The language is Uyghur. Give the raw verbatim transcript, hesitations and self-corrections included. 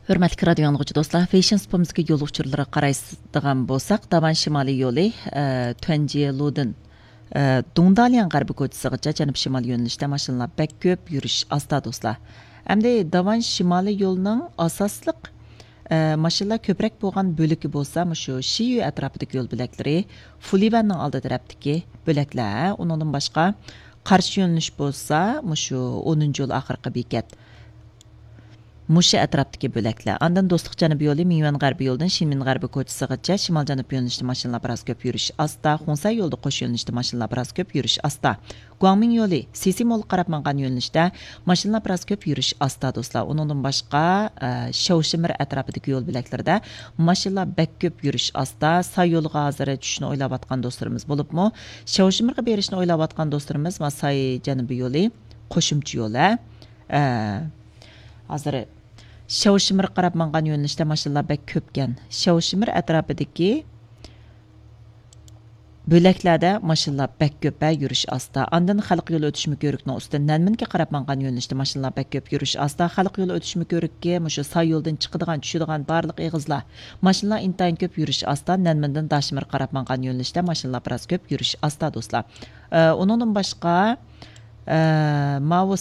ھۆرمەتلىك رادىيو ئاڭلىغۇچى دوستلار، فېيشىن سۇپىمىزدىكى يول ئۇچۇرلىرىغا قارايدىغان بولساق، داۋان شىمالىي يولى، ئە، تۇەنجيېلۇدىن، ئە، دۇڭدالياڭ غەربىي كوچىسىغىچە جەنۇب شىمال يۆنىلىشتە ماشىنىلار بەك كۆپ، يۈرۈش ئاستا دوستلار. ئەمدى داۋان شىمالىي يولىنىڭ ئاساسلىق، ئە، ماشىنىلار كۆپرەك بولغان بۆلىكى بولسا مۇشۇ شىيۈ ئەتراپىدىكى يول بۆلەكلىرى، فۇلىۋەننىڭ ئالدى تەرەپتىكى بۆلەكلەر. ئۇنىڭدىن باشقا قارشى يۆنىلىش بولسا مۇشۇ ئونىنچى يول ئاخىرقى بېكەت. مۇشۇ ئەتراپتىكى بۆلەكلەر. ئاندىن دوستلۇق جەنۇبىي يولى مىڭيۈەن غەربىي يولىدىن شىنمىن غەربىي كوچىسىغىچە شىمال جەنۇب يۆنىلىشتە ماشىنىلار بىراز كۆپ، يۈرۈش ئاستا. خۇڭسەي يولىدا قوش يۆنىلىشتە ماشىنىلار بىراز كۆپ، يۈرۈش ئاستا. گۇاڭمىڭ يولى سىسى مولغا قاراپ ماڭغان يۆنىلىشتە ماشىنىلار بىراز كۆپ، يۈرۈش ئاستا دوستلار. ئۇنىڭدىن باشقا، ئە، شياۋشىمىر ئەتراپىدىكى يول بۆلەكلىرىدە ماشىنىلار بەك كۆپ، يۈرۈش ئاستا. ساي يولىغا ھازىر چۈشۈشنى ئويلاۋاتقان دوستلىرىمىز بولۇپمۇ، شياۋشىمىرغا بېرىشنى ئويلاۋاتقان دوستلىرىمىز، ما ساي جەنۇبىي يولى قوشۇمچە يول، ھە. ئە، ھازىر شياۋشىمىرغا قاراپ ماڭغان يۆنىلىشتە ماشىنىلار بەك كۆپكەن. شياۋشىمىر ئەتراپىدىكى بۆلەكلەردە ماشىنىلار بەك كۆپ، ھە، يۈرۈش ئاستا. ئاندىن خەلق يولى ئۆتۈش مۇكۆرۈكنىڭ ئۈستىدىن نەنمىنگە قاراپ ماڭغان يۆنىلىشتە ماشىنىلار بەك كۆپ، يۈرۈش ئاستا. خەلق يولى ئۆتۈش مۇكۆرۈككە مۇشۇ ساي يولدىن چىقىدىغان، چۈشىدىغان بارلىق ئېغىزلار، ماشىنىلار ئىنتايىن كۆپ، يۈرۈش ئاستا. نەنمىندىن داشىمىرغا قاراپ ماڭغان يۆنىلىشتە ماشىنىلار بىراز كۆپ، يۈرۈش ئاستا دوستلار. ئە، ئۇنىڭدىن باشقا، ئە، ماۋۇ